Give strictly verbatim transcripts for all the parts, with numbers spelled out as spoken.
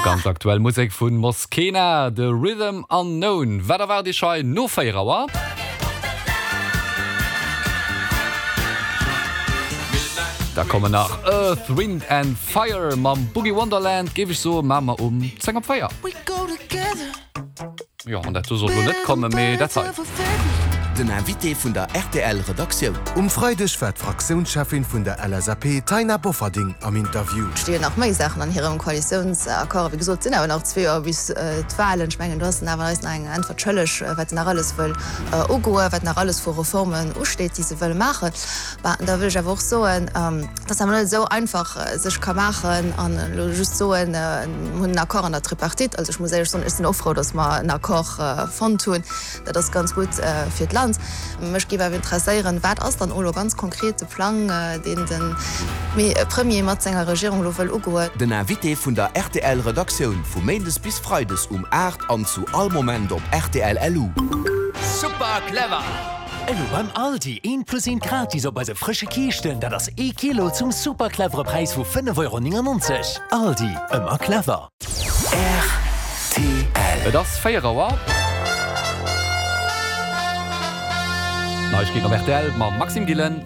Ganz aktuell Musek vun Moskena, The Rhythm Unknown. Wat erwaart Iech hei no véier Auer? Da kommen nach Earth, Wind and Fire mam Boogie Wonderland, géif ech soen, maache mer um zéng op véier. Jo, an dat do sollt lo net kommen, mee dat hei. Den Invité vun der rtl Redaktioun. Um Freideg war d'Fraktiounscheffin vun der LSAP Taina Bofferding am Interview. Et sti jo nach méi Saachen an hirem Koalitiounsaccord. Wéi gesot, et sinn awer nach zwee Joer bis d'Wahlen. Ech mengen, do ass en awer eis nach eng Äntwert schëlleg, wat se nach alles wëll ugoen, wat nach alles vu Reformen usteet, déi se wëll maachen. Bah, da wëll ech awer och soen, dass awer net esou einfach sech ka maachen an elo just soen, mir hunn en Accord an der Tripartite. Also ech muss éierlech soen, ech sinn och frou, dass mer en Accord fonnt hunn. Dat ass ganz gutt fir d'Land. Mech géif awer interesséieren, Wat ass dann elo ganz konkret de Plang, deen de Premier mat senger Regierung elo wëll ugoen? Den Invité vun der rtl Redaktioun vu Méindes bis Freides um aacht an zu all Moment op rtl LU. Super clever! Elo beim Aldi, eent plus eent gratis op eise frësche Kiischten, dat ass ee Kilo zum super clevere Präis vu fënnef Euro néngennonzeg. Aldi, ëmmer clever! Rtl. Et ass véier Auer. Neiegkeeten op rtl mam Maxime Gillen.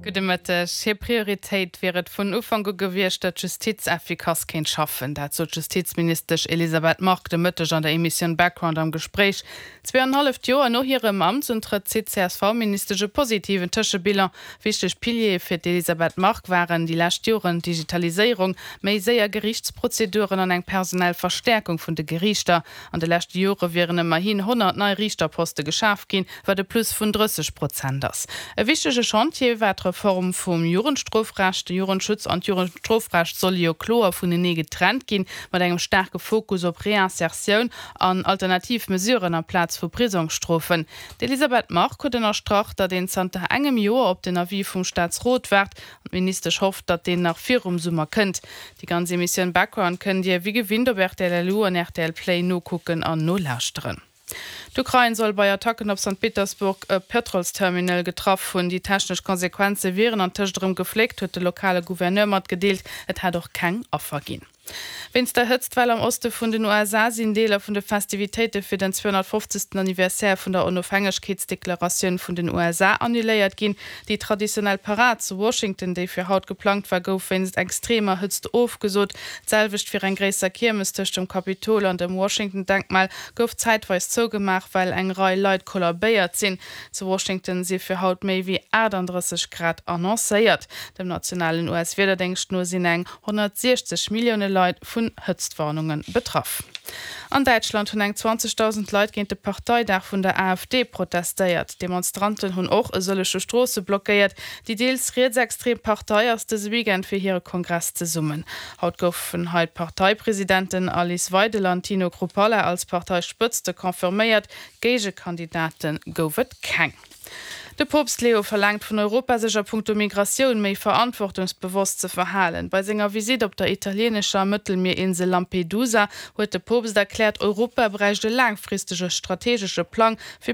Gudde Mëtteg. Hir Prioritéit wier et vun Ufank u gewiescht, datt d'Justiz effikass kéint schaffen. Dat sot d'Justizministesch Elisabeth Margue de Mëtteg an der Emissioun Background am Gespréich. Zwee an en halleft Joer no hirem Amtsuntrëtt zitt d'CSV-Ministesch e positiven Tëschebilan. Wichteg Piliere fir d'Elisabeth Margue waren déi lescht Joren d'Digitaliséierung, méi séier Geriichtsprozeduren an eng personell Verstäerkung vun de Geriichter. An de leschte Jore wieren ëmmerhin honnert nei Riichterposte geschaf ginn, wat e Plus vun drësseg Prozent ass. E wichtege Chantier war d'Reform vum Jugendstrofrecht. De Jugendschutz an d'Jugendstrofrecht solle jo kloer vunenee getrennt ginn, mat engem staarke Fokus op Reinsertioun an alternativ Mesuren amplaz vu Prisongsstrofen. D'Elisabeth Margue huet ënnerstrach, datt een zanter engem Joer op den Avis vum Staatsrot waart an d'Ministesch hofft, datt deen nach virum Summer kënnt. Déi ganz Emissioun Background kënnt Dir wéi gewinnt op rtl LU an rtl Play nokucken an nolauschteren. D'Ukrain soll bei Attacken op Sankt Petersburg e Pëtrolsterminal getraff hunn. Déi technesch Konsequenze wieren antëscht erëm gefléckt, huet de lokale Gouverneur matgedeelt. Et hätt och keng Affer ginn. Wéinst der Hëtztwell am Oste vun den U S A sinn Deeler vun de Festivitéite fir den zweehonnertfofzegsten Anniversaire vun der Onofhängegkeetsdeklaratioun vun den U S A annuléiert ginn. Déi traditionell Parad zu Washington, déi fir haut geplangt war, gouf wéinst extremer Hëtzt ofgesot. D'selwecht fir eng gréisser Kiermes tëscht dem Kapitol an dem Washington-Denkmal gouf zäitweis zougemaach, well eng Rei Leit kollabéiert sinn. Zu Washington si fir haut méi wéi aachtanddrësseg Grad annoncéiert. Dem nationalen U S-Wiederdéngscht no sinn eng honnertsiechzeg Millioune Leit vun Hëtztwarnunge betraff. An Däitschland hunn eng zwanzegdausend Leit géint de Parteidag vun der A F D protestéiert. D'Demonstranten hunn och e sëllege Stroosse blockéiert. Déi deels rietsextrem Partei ass dëse Weekend fir hire Kongress zesummen. Haut goufen hei d'Parteipresidenten Alice Weidel an Tino Chrupalla als Parteispëtzte confirméiert. Géigekandidate gouf et keng. De Poopst Leo verlaangt vun Europa, sech a punkto Migratioun méi verantwortungsbewosst ze verhalen. Bei senger Visitt op der italieenescher Mëttelmierinsel Lampedusa huet de Poopst erkläert, Europa bräicht e laangfristege strategesche Plang fir.